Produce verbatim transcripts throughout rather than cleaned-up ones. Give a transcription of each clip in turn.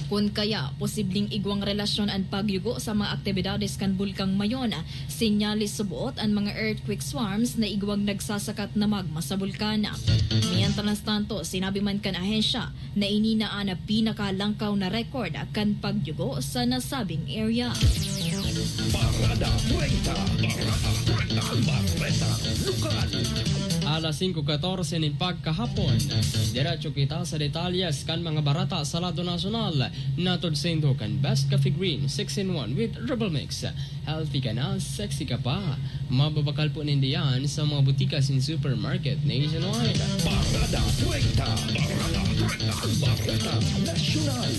Kun kaya, posibleng igwang relasyon an pagyugo sa mga aktibidades kan Bulkang Mayon. Senyales subot an mga earthquake swarms na igwang nagsasakat na magma sa bulkan. Mientras tanto, sinabi man kan ahensya na ini na an pinakalangkaw na record kan pagyugo sa nasabing area. Parada treinta, Parada treinta, Bareta Lokal. Alas singko katorse nin pagkahapon. Diretso kita sa detalyes kan mga bareta sa lado nasyonal. Natod saindo kan Best Coffee Green six in one with Rebel Mix. Healthy ka na, sexy ka pa. Mababakal po ninda yan sa mga butika sin supermarket nationwide. Parada treinta, Parada treinta, Bareta Nasyonal.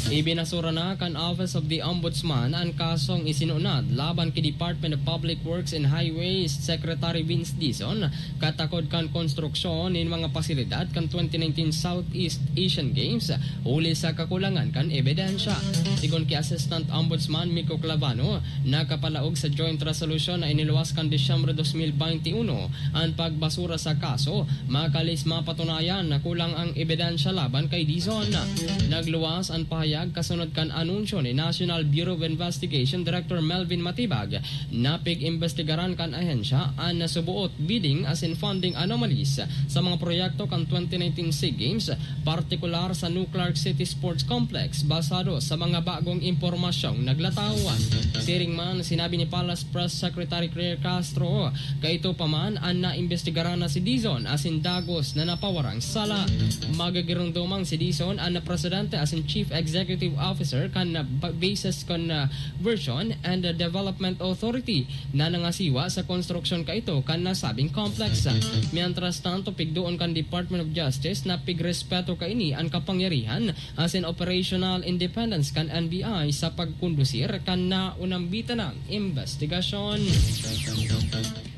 Ibinasura na kan Office of the Ombudsman an kasong isinunad laban ki Department of Public Works and Highways Secretary Vince Dizon katakod kan konstruksyon nin mga pasilidad kan twenty nineteen Southeast Asian Games huli sa kakulangan kan ebidensya. Sigon ki Assistant Ombudsman Miko Clavano, nakapalaog sa joint resolution na iniluwas kan Disyembre dos mil baynte uno an pagbasura sa kaso, makalis mapatunayan na kulang ang ebidensya laban kay Dizon. Nagluwas an pahayag kasunod kan anunsyo ni National Bureau of Investigation Director Melvin Matibag na pig-imbestigaran kan ahensya an nasubuot bidding asin funding anomalies sa mga proyekto kan twenty nineteen SEA Games, partikular sa New Clark City Sports Complex, basado sa mga bagong impormasyong naglataw. Siring man, sinabi ni Palace Press Secretary Claire Castro, kaito pa man an naimbestigaran na si Dizon asin dagos na napawarang sala. Magagiromdomang si Dizon an presidente asin chief executive officer kan, uh, Basis Conversion and Development Authority na nangasiwa sa konstruksyon kaito kan nasabing complex. Mientras tanto, pigdoon kan Department of Justice na pigrespeto kaini an kapangyarihan asin operational independence kan N B I sa pagkondusir kan naunambitan nang imbestigasyon.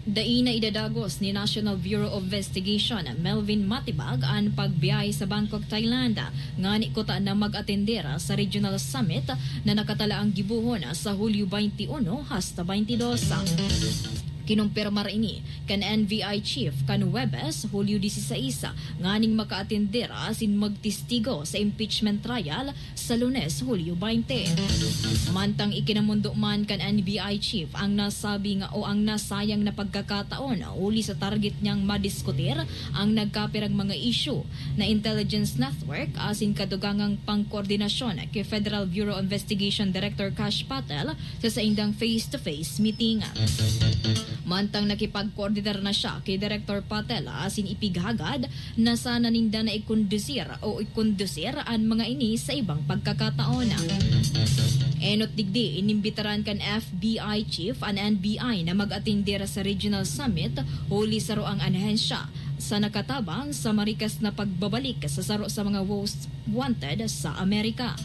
Dai na idadagos ni National Bureau of Investigation Melvin Matibag an pagbiyahe sa Bangkok, Thailand, ngani kuta na mag-atender sa regional summit na nakatalaang gibohon sa Hulyo baynte uno hasta baynte dos. Kinumpirmar ini kan N B I chief kan Huwebes, Hulyo dieciséis, nganing makaatender asin magtestigo sa impeachment trial sa Lunes, Hulyo baynte. Mantang ikinamondo man kan N B I chief ang nasabing o ang nasayang na pagkakataon huli sa target niyang madiskutir ang nagkapirang mga isyu na intelligence network asin kadugangang pangkoordinasyon ki Federal Bureau of Investigation Director Kash Patel sa saindang face-to-face meeting. Mantang nakipagkoordinar na siya ki Director Patel asin ipighagad na sana ninda na ikondusir o ikondusir an mga ini sa ibang pagkakataon. Enot digdi, inimbitaran kan F B I chief an N B I na mag-atender sa regional summit huli sa roang ahensya sa nakatabang sa marikas na pagbabalik sa saro sa mga most wanted sa Amerika.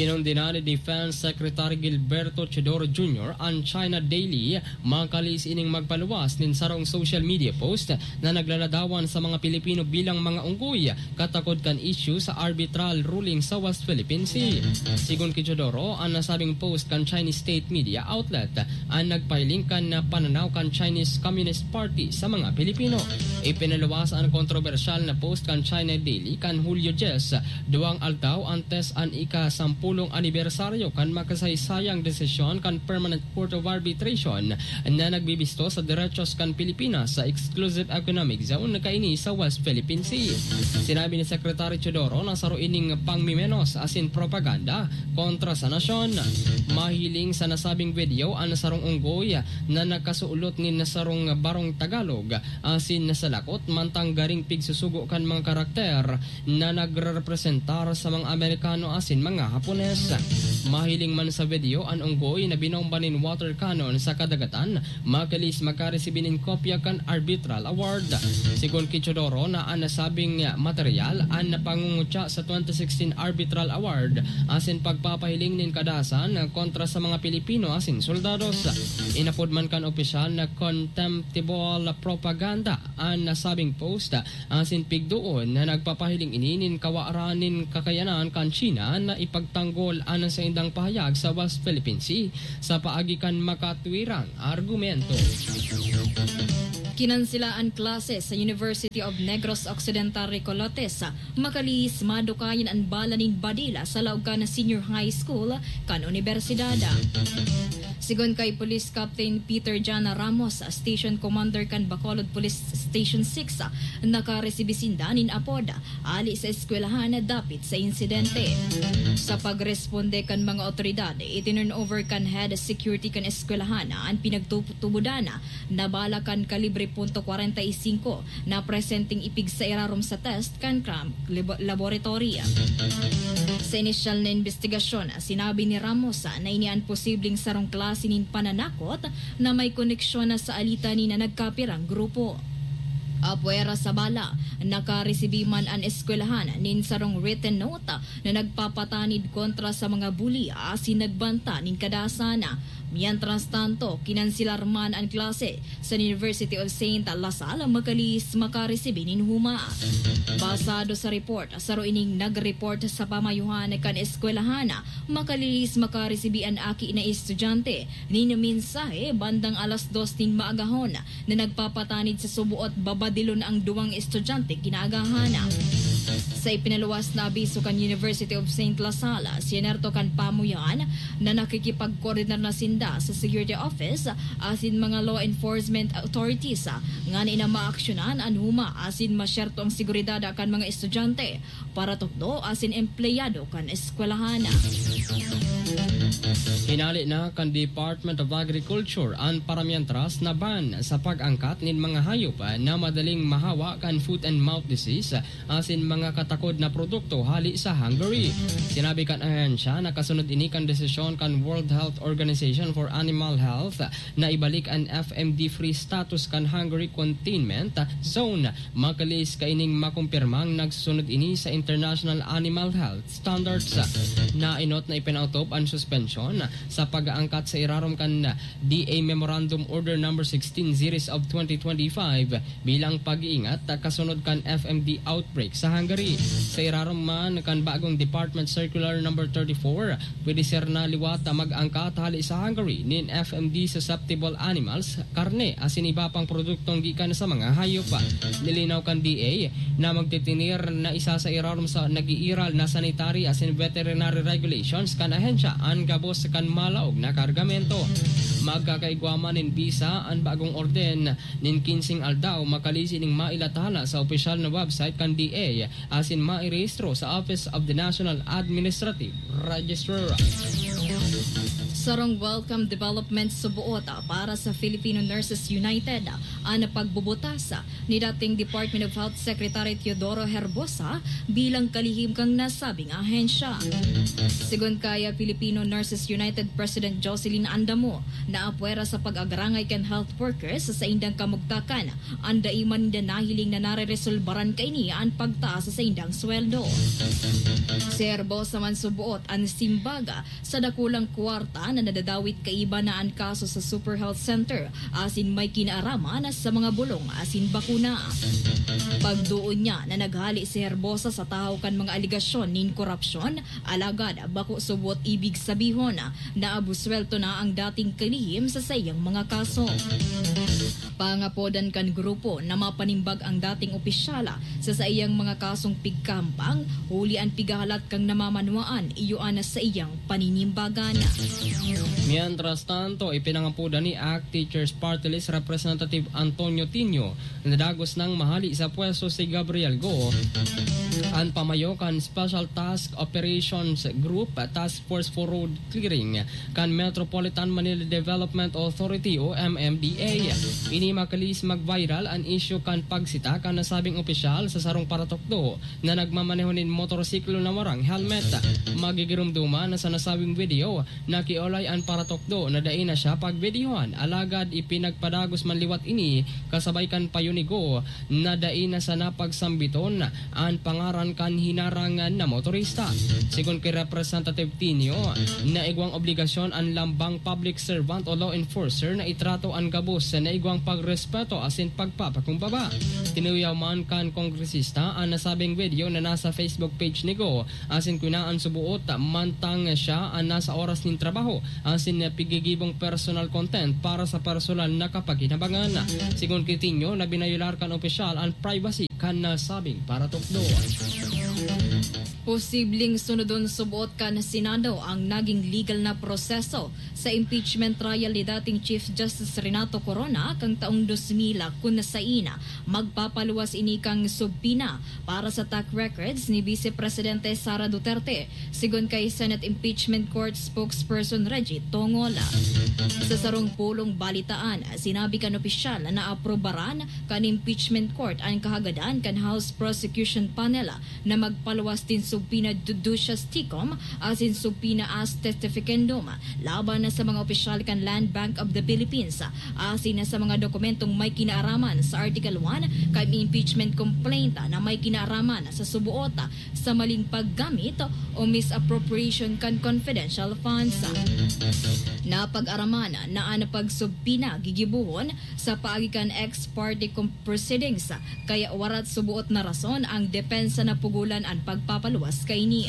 Kinondena ni Defense Secretary Gilberto Teodoro Junior an China Daily makalis ining magpaluwas nin sarong social media post na naglaladawan sa mga Pilipino bilang mga unggoy katakod kan isyu sa arbitral ruling sa West Philippine Sea. Sigon ki Teodoro, an nasabing post kan Chinese state media outlet an nagpahiling kan pananaw kan Chinese Communist Party sa mga Pilipino. Ipinaluwas an kontrobersyal na post kan China Daily kan Hulyo dyes, duwang aldaw antes an ika-sampulong anibersaryo kan makasaysayang desisyon kan Permanent Court of Arbitration na nagbibisto sa derechos kan Pilipinas sa exclusive economic zone na kaini sa West Philippine Sea. Sinabi ni Secretary Teodoro na saro ining pangmimenos asin propaganda kontra sa nasyon. Mahiling sa nasabing video an sarong unggoy na nakasulot nin sarong barong Tagalog asin nasalakot mantang garing pigsusugo kan mga karakter na nagrerepresentar sa mga Amerikano asin mga Hapones. Mahiling man sa video an unggoy na binomba nin water cannon sa kadagatan, makalis makaresibi nin kopya kan arbitral award. Sigon ki Teodoro na an nasabing material an napangungutya sa twenty sixteen arbitral award asin pagpapahiling nin kadasan kontra sa mga Pilipino asin soldados. Inapod man kan opisyal na contemptible propaganda an nasabing post asin pigdoon na nagpapahiling ini nin kawaran nin kakayanan kan China na ipagtanggol an saindang pahayag sa West Philippine Sea sa paagi kan makatwirang argumento. Kinansela an klase sa University of Negros Occidental Recoletos, makalihis madukayan an bala nin badila sa laog kan Senior High School kan unibersidad. Sigon kay Police Captain Peter Jana Ramos, Station Commander kan Bacolod Police Station six, nakaresibi sinda nin apod hali sa eskwelahan dapit sa insidente. Sa pagresponde kan mga otoridad, itinurnover kan head security kan eskwelahan an pinagtutubodan na bala kan kalibre punto kwarenta y singko na presenteng ipigsa irarom sa test kan crime labo-, laboratory. Sa inisyal na imbestigasyon, sinabi ni Ramos na ini an posibleng sarong klase nin pananakot na may koneksyon na sa alitan ni na nagkapirang grupo. Apwera sa bala, nakaresibi man an eskwelahan nin sarong written note na nagpapatanid kontra sa mga bully asin nagbanta nin kadasan. Mientras tanto, kinanselar man an klase sa University of Saint La Salle, makalihis makaresibi nin huma. Basado sa report, saro ining nag-report sa pamayohan kan eskwelahan, makalihis makaresibi an aki na estudyante nin mensahe bandang alas dos nin maagahon na nagpapatanid sa suboot babadilon ang duwang estudyante kinaagahan. Sa ipinaluwas na abiso kan University of Saint La Salle, sinerto kan pamuyan na nakikipagkoordinar na sinda sa security office asin mga law enforcement authorities ngani na maaksyonan an huma asin masyerto ang seguridad kan mga estudyante, paratukdo asin empleyado kan eskwelahan. Hinale na kan Department of Agriculture an paramientras na ban sa pag-angkat nin mga hayop na madaling mahawa kan foot and mouth disease asin mga katakod na produkto hali sa Hungary. Sinabi kan ahensya na kasunod ini kan desisyon kan World Health Organization for Animal Health na ibalik an F M D free status kan Hungary containment zone. Makalihis kaining makumpirmang nagsusunod ini sa international animal health standards. Nainot na ipinaotob an suspensyon sa pag-aangkat sa irarom kan D A Memorandum Order Number sixteen Series of twenty twenty-five bilang pag-iingat kasunod kan F M D outbreak sa Hungary. Sa irarom man kan bagong Department Circular Number thirty-four, pwede ser na liwat mag-angkat hali sa Hungary nin F M D susceptible animals, karne asin iba pang produktong gikan sa mga hayop. Nilinaw kan D A na magtitineer na isa sa irarom sa nag-iiral na sanitary asin veterinary regulations kan ahensya an gabos kan malaog na kargamento. Magkakaigwa man nin bisa an bagong orden nin kinseng aldaw makalihis ining mailathala sa opisyal na website kan D A asin mairehistro sa Office of the National Administrative Registrar. Sarong welcome development suboot para sa Filipino Nurses United an pagbubutas ni dating Department of Health Secretary Teodoro Herbosa bilang kalihim kan nasabing ahensya. Sigon kay Filipino Nurses United President Jocelyn Andamo, naapwera sa pag-agrangay kan health workers sa saindang kamugtakan, an dai man ninda nahiling na nareresolbaran kaini an pagtaas sa saindang sweldo. Si Herbosa man suboot an simbag sa dakulang kwarta na nadadawit kaiba na an kaso sa Super Health Center asin may kinaaraman sa mga bulong asin bakuna. Pagduon niya na naghali si Herbosa sa tahaw kan mga alegasyon nin korapsyon, alagad bako subot ibig sabihon na abuswelto na ang dating kalihim sa saiyang mga kaso. Pangapodan kan grupo na mapanimbag ang dating opisyal sa saiyang mga kasong pigkahampang, huli an pigahalat kan namamanwaan iyo an saiyang paninimbagan. Mientras tanto, ipinangapodan ni ACT Teachers Party List Representative Antonio Tinio na dagos nang mahali sa pwesto si Gabriel Go, an pamayo kan Special Task Operations Group Task Force for Road Clearing kan Metropolitan Manila Development Authority o M M D A. Ini makalihis mag-viral an isyu kan pagsita kan nasabing opisyal sa sarong paratukdo na nagmamaneho nin motorsiklo na warang helmet. Magigiromdoman na sa nasabing video, nakiolay an paratukdo na dai na siya pagbideohan, alagad ipinagpadagos man liwat ini kasabay kan payo ni Go na dai na sana pagsambiton an pangalan aran kan hinarang na motorista. Sigon ki Representative Tinio, naigwang obligasyon an lambang public servant o law enforcer na itrato an gabos na igwang pagrespeto asin pagpapakumbaba. Tinuyaw man kan kongresista an nasabing video na nasa Facebook page ni Go asin kwinaan subuot mantang siya an nasa oras nin trabaho asin pigigibong personal content para sa personal na kapakinabangan. Sigon ki Tinio na binayolar kan opisyal an privacy kan nasabing paratukdo. Posibleng sunodon suboot kan Senado ang naging legal na proseso sa impeachment trial ni dating Chief Justice Renato Corona kan taong dos mil, kun sain magpapaluwas ini kan subpoena para sa tax records ni Vice Presidente Sara Duterte, sigon kay Senate Impeachment Court spokesperson Reggie Tongol. Sa sarong pulong balitaan, sinabi kan opisyal na aprobaran kan Impeachment Court an kahagadan kan House Prosecution Panel na magpaluwas nin subpoena dudious tecum asin subpoena as testificandum laban na sa mga opisyal kan Land Bank of the Philippines asin na sa mga dokumentong may kinaaraman sa Article one kan impeachment complaint na may kinaaraman sa suboot sa maling paggamit o misappropriation kan confidential funds. Napag-araman na an pagsubpoena gigibohon sa paagi kan ex parte com-, proceedings, kaya warat suboot na rason ang depensa na pugolan an pagpapaluwas kaini.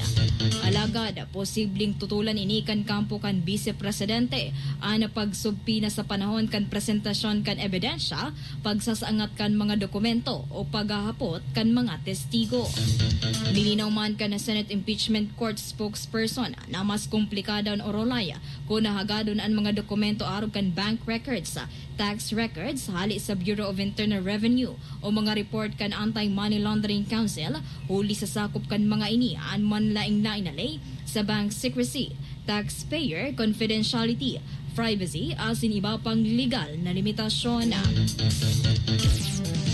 Alagad, posibleng tutulan ini kan kampo kan Bise Presidente an pagsubpoena sa panahon kan presentasyon kan ebidensya, pagsasangat kan mga dokumento o paghahapot kan mga testigo. Nilinaw man kan Senate Impeachment Court spokesperson na mas komplikado an orolay kun hagadon an mga dokumento arog kan bank records, tax records hale sa Bureau of Internal Revenue o mga report kan Anti-Money Laundering Council, huli sa sakop kan mga ini an manlaing nainalay sa bank secrecy, taxpayer confidentiality, privacy, asin iba pang legal na limitasyon.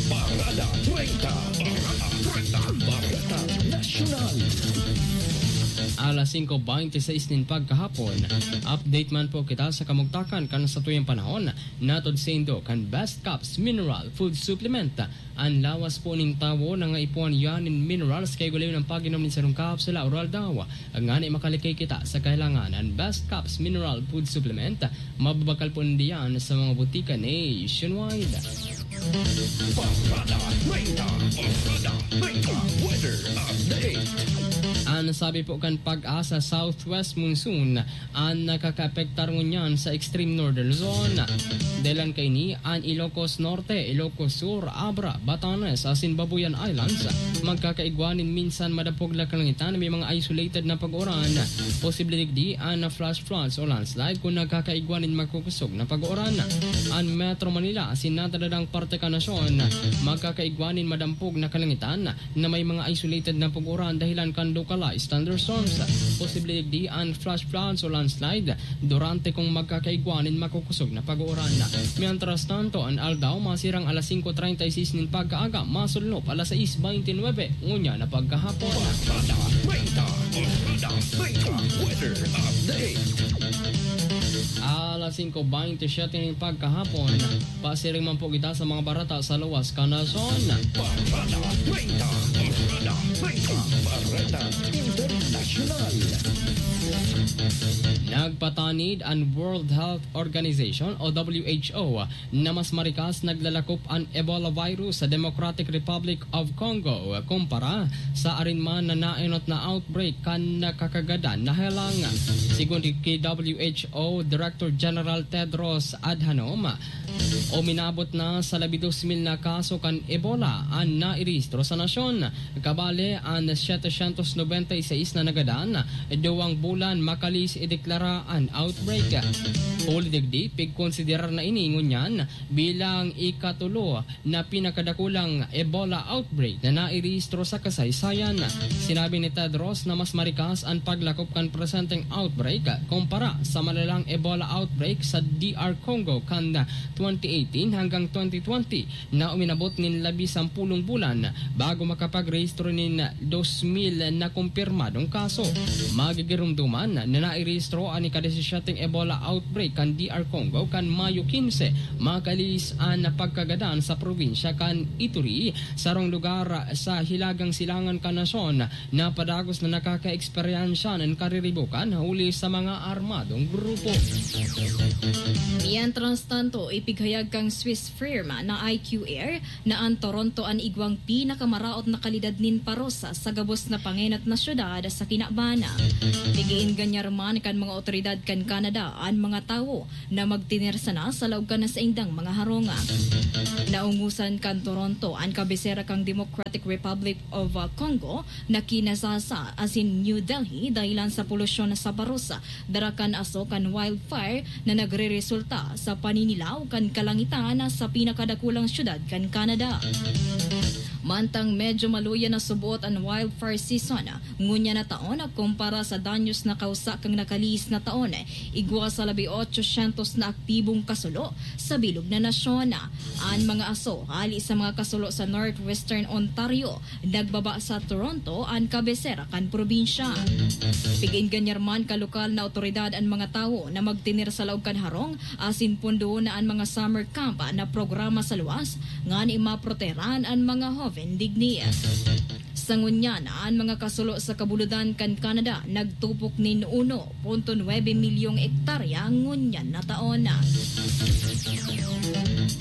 Parada treinta. Parada treinta. Parada Nasyonal. Alas singko bente seis nin pagkahapon, update man po kita sa kamugtakan kan satuyang panahon. Natod saindo kan Best Caps Mineral Food Supplement. An lawas po nin tawo nangaipuhan iyan nin minerals kay gulayon an pag-inom nin sarong kapsula o aldaw. Ngani makalikay kita sa kahilangan, an Best Caps Mineral Food Supplement, mababakal po nin diyan sa mga butika nationwide. Parada treinta. Parada treinta. Weather update. An sabi po kan Pag-asa, southwest monsoon an nakakaapektar ngunyan sa extreme northern zone. Dahilan kaini, an Ilocos Norte, Ilocos Sur, Abra, Batanes asin Babuyan Islands magkakaigwa nin minsan madapog na kalangitan, may mga isolated na pag-uran. Posible digdi an flash floods o landslide kun nagkakaigwa nin makukosog na pag-uran. An Metro Manila asin natatadang parte kan nasyon magkakaigwa nin madampog na kalangitan na may mga isolated na pag-uran dahilan kan localized thunderstorms. Posible digdi an flash floods o landslide durante kung magkakaigwa nin makukosog na pag-uran. Mientras tanto, an aldaw masirang alas singko treinta y seis nin pagkaaga, masulnop alas sais beintinuebe ngunyan na pagkahapon. Barkada treinta, Barkada treinta, weather update. Alas singko beintisyete nin pagkahapon, pasiring man po kita sa mga bareta sa luwas kan nasyon. Barkada treinta, Barkada treinta, Bareta Internasyonal. Nagpatanid an World Health Organization o W H O na mas marikas naglalakop an Ebola virus sa Democratic Republic of Congo kumpara sa arin man na naenot na outbreak kan nakakagadan na helang. Sigon ki W H O Director General Tedros Adhanom, uminabot na sa labi dos mil na kaso kan Ebola an nairehistro sa nasyon. Kabale, an setecientos nobenta y seis na nagadan, duwang bulan makalis ideklara an outbreak. Huli digdi, pigkonsiderar na ini ngunyan bilang ikatulo na pinakadakulang Ebola outbreak na nairehistro sa kasaysayan. Sinabi ni Tedros na mas marikas an paglakop kan presenteng outbreak kumpara sa malalang Ebola outbreak sa D R Congo kan twenty eighteen hanggang twenty twenty na uminabot nin labi sampulong bulan bago makapagrehistro nin dos mil na kumpirmadong kaso. Magigirumduman na nairehistro an ika-disisiete Ebola outbreak kan D R Congo kan Mayo quince, makalis an pagkagadan sa probinsya kan Ituri, sarong lugar sa hilagang silangan kan nasyon na padagos na nakakaeksperyansya nin kariribukan huli sa mga armadong grupo. Mientras tanto, ipighayag kan Swiss firma na I Q Air na an Toronto an igwang pinakamaraot na kalidad nin paros sa gabos na pangenot na syudad sa kinaban. Pigiin ganyan man kan mga otoridad kan Canada an mga tawo na magtener sana sa laog kan saindang mga harong. Naungosan kan Toronto an kabisera kan Democratic Republic of, uh, Congo na Kinshasa asin New Delhi dahilan sa polusyon sa paros, dara kan aso kan wildfire na nagreresulta sa paninilaw kan kalangitan sa pinakadakulang syudad kan Canada. Mantang medyo maluya na subot an wildfire season, ngunyan na taon kumpara sa danyos na kausa kan nakalihis na taon, igwa sa labi otsosyentos na aktibong kasulo sa bilog na nasyon. An mga aso hali sa mga kasulo sa northwestern Ontario, nagbaba sa Toronto, an kabisera kan probinsya. Pigiin ganyan man kan lokal na otoridad an mga tawo na magtener sa laog kan harong asin pondoon na an mga summer camp na programa sa luwas ngani maprotehiran an mga hoven digni. Sa ngunyan, an mga kasulo sa kabuludan kan Canada nagtupok nin uno punto nuebe milyong ektarya ngunyan na taon.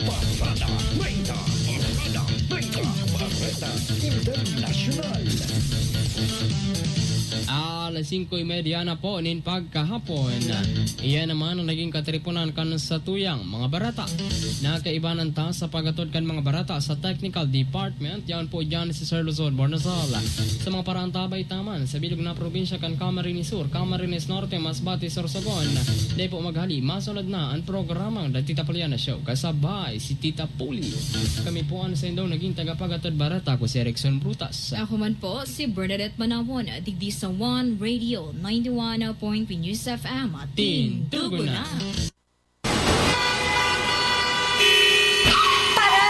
Bareta treinta, Bareta treinta, Bareta Internasyonal. Alas singko y media na po nin pagkahapon. Iyan naman ang naging katiriponan kan satuyang mga bareta. Nakaibanan ta sa paghatod kan mga bareta sa technical department. Yaon po diyan si Sir Luzon Bornasal. Sa mga paraantabay taman, sa bilog na probinsya kan Camarines Sur, Camarines Norte, Masbate, Sorsogon. Dai po maghali, masunod na an programang The Tita Puliana Show. Kasabay si Tita Puli. Kami po an saindong naging tagapaghatod bareta, ako si Erickson Brutas. Ako man po, si Bernadette Manawon, digdi sa One Radio ninety-one point three News F M. Tindugo na! Para!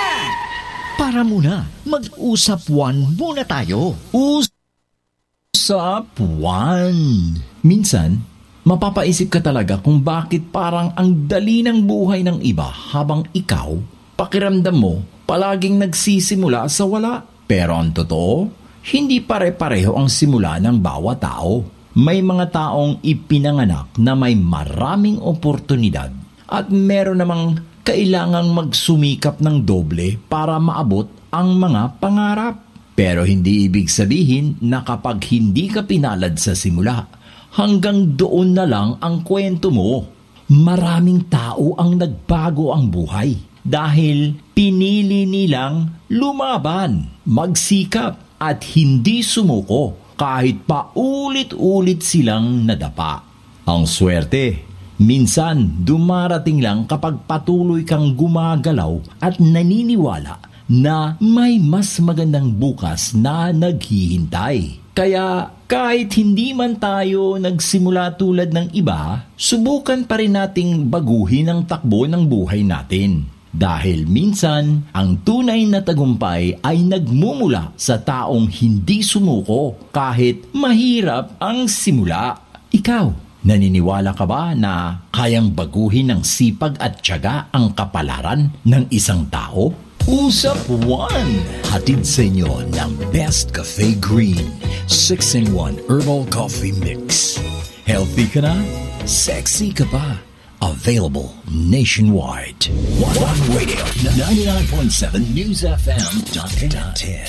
Para muna, mag-usap one muna tayo. Usap one. Minsan, mapapaisip ka talaga kung bakit parang ang dali ng buhay ng iba habang ikaw, pakiramdam mo, palaging nagsisimula sa wala. Pero ang totoo, hindi pare-pareho ang simula ng bawat tao. May mga taong ipinanganak na may maraming oportunidad at meron namang kailangang magsumikap ng doble para maabot ang mga pangarap. Pero hindi ibig sabihin na kapag hindi ka pinalad sa simula, hanggang doon na lang ang kwento mo. Maraming tao ang nagbago ang buhay dahil pinili nilang lumaban, magsikap, at hindi sumuko kahit paulit-ulit silang nadapa. Ang swerte, minsan dumarating lang kapag patuloy kang gumagalaw at naniniwala na may mas magandang bukas na naghihintay. Kaya kahit hindi man tayo nagsimula tulad ng iba, subukan pa rin nating baguhin ang takbo ng buhay natin. Dahil minsan, ang tunay na tagumpay ay nagmumula sa taong hindi sumuko kahit mahirap ang simula. Ikaw, naniniwala ka ba na kayang baguhin ng sipag at tiyaga ang kapalaran ng isang tao? Usap One, hatid sa inyo ng Best Cafe Green six-in-one Herbal Coffee Mix. Healthy ka na? Sexy ka pa? Available nationwide. One Radio, ninety-nine point seven News F M. Connected.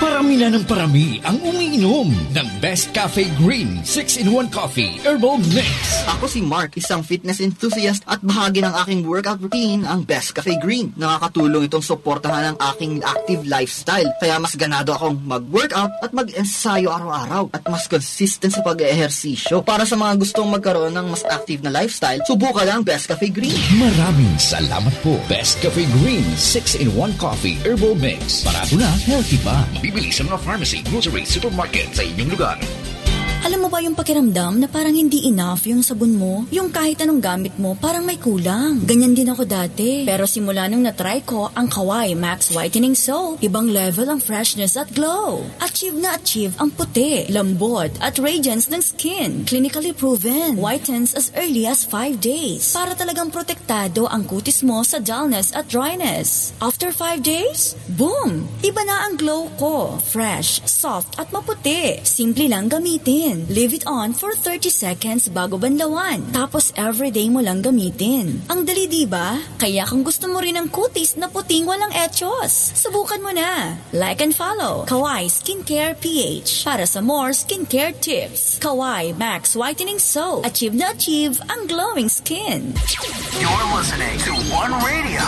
Parami na ng parami ang umiinom ng Best Cafe Green six-in-one Coffee Herbal Mix. Ako si Mark, isang fitness enthusiast at bahagi ng aking workout routine ang Best Cafe Green. Nakakatulong itong suportahan ang aking active lifestyle, kaya mas ganado akong mag-workout at mag-ensayo araw-araw at mas consistent sa pag-ehersisyo. Para sa mga gustong magkaroon ng mas active na lifestyle, subukan ang Best Cafe Green. Maraming salamat po, Best Cafe Green six-in-one Coffee Herbal Mix. Barato na, healthy pa. Mabibili sa mga pharmacy, grocery, supermarket sa inyong lugar. Alam mo ba yung pakiramdam na parang hindi enough yung sabon mo? Yung kahit anong gamit mo, parang may kulang. Ganyan din ako dati. Pero simula nung na-try ko ang Kawai Max Whitening Soap, ibang level ang freshness at glow. Achieve na achieve ang puti, lambot, at radiance ng skin. Clinically proven. Whitens as early as five days. Para talagang protektado ang kutis mo sa dullness at dryness. After five days, boom! Iba na ang glow ko. Fresh, soft, at maputi. Simple lang gamitin. Leave it on for thirty seconds bago banlawan. Tapos everyday mo lang gamitin. Ang dali, di ba? Kaya kung gusto mo rin ang kutis na puting walang echos, subukan mo na. Like and follow Kawai Skincare P H para sa more skincare tips. Kawai Max Whitening Soap. Achieve na achieve ang glowing skin. You're listening to One Radio.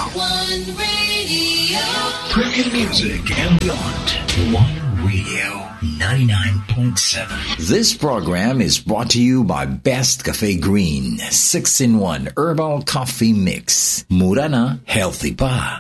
Premium music and beyond. One Radio ninety-nine point seven. This program is brought to you by Best Cafe Green six-in-one Herbal Coffee Mix. Mura na, healthy pa.